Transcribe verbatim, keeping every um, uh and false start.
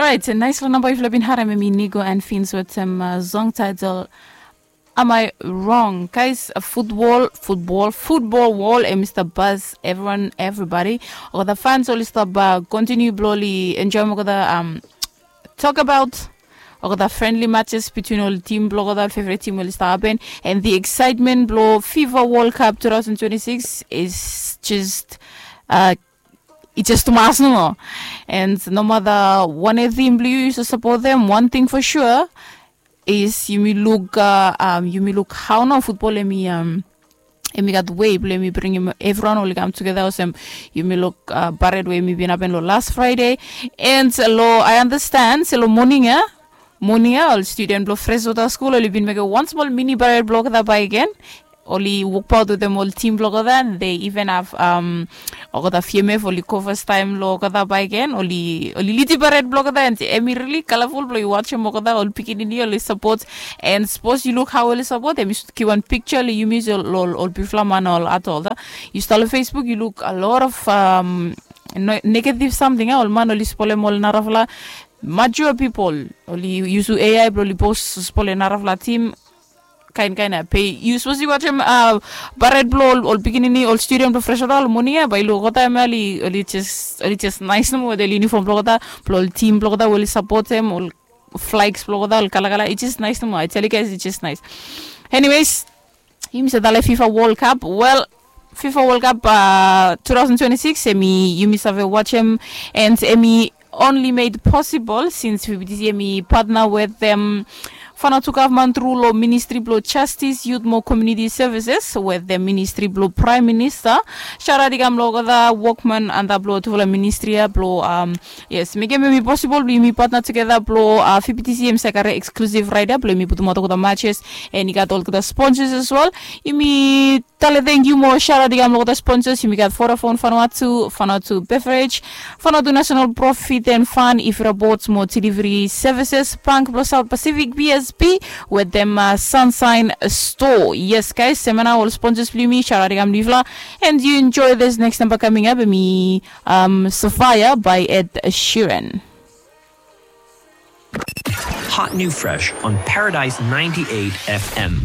Alright, nais long namba yufala bin harem, em i Nigo and Fins wetem uh, song title Am I Wrong? Guys, uh, football, football, football wall, em Mister Buzz, everyone, everybody. Olgeta fans oli stap uh, continue blo oli enjoy olgeta um, talk about olgeta friendly matches between ol team blo olgeta, ol favorite team oli stap happen, and the excitement blo FIFA World Cup two thousand twenty-six is just uh, i just tumas nomo. And no matter one team blo yu, yu support them, one thing for sure is yumi luk uh, um, yumi luk how no football em i um, em i gat way blo em i bringim everyone oli kam together olsem yumi luk uh, pared we em i bin happen lo last Friday. And lo I understand se lo morning ya, morning ya ol student blo Freshwater School oli bin mekim one small mini pared blo olgeta bae gen. Oli wokbaot wetem ol team blo olgeta, and they even have um, olgeta F M F oli go first time lo olgeta bae gen, oli oli lidi pared blo olgeta, and em i really colorful blo yu watchem olgeta ol pikinini oli support. And suppose yu luk how oli support, em yu should kiwan picture lo yumi lo ol ol bigfala man ol adult. Yu stap lo Facebook yu luk a lot of um, negative something, ol man oli spolem ol narafala mature people, oli yusu A I blo oli post spolem narafala team, kain kain ya. Pe yu suppose yu watchem uh, pared blo ol pikinini, ol student blo Freshwater ol morning ya, bae yu luk olgeta em ya oli oli just oli just nice nomo wetem ol uniform blo olgeta, blo ol team blo olgeta we oli support em, ol flags blo olgeta, ol kalakala, it's just nice nomo. I tell you guys, it's just nice. Anyways, yumi save talem FIFA World Cup. Well, FIFA World Cup uh, two thousand twenty-six em i yumi save watchem, and em i only made possible since F B T C em i partner with them. Vanuatu gavman tru lo Ministry blo Justice, Youth mo Community Services wetem Ministry blo Prime Minister. Shout out i kam lo olgeta wokman antap lo tufala ministri ya blo um, yes, mekem em i possible blo yumi partner together blo uh, F B T C em save kare exclusive right ya blo yumi putumaot olgeta matches, and i gat olgeta sponsors as well. Yumi talem thank you mo shout out i kam lo olgeta sponsors. Yumi gat Vodafone Vanuatu, Vanuatu Beverage, Vanuatu National Profit and Fund, Ifra Boats mo Delivery Services, Bank blo South Pacific, B S P, wetem uh, Sunshine Store. Yes guys, semana ol sponsors blo yumi, shout out i kam lo yufala. And you enjoy this next number coming up, em i um, Sapphire by Ed Sheeran. Hot new fresh on Paradise ninety-eight F M.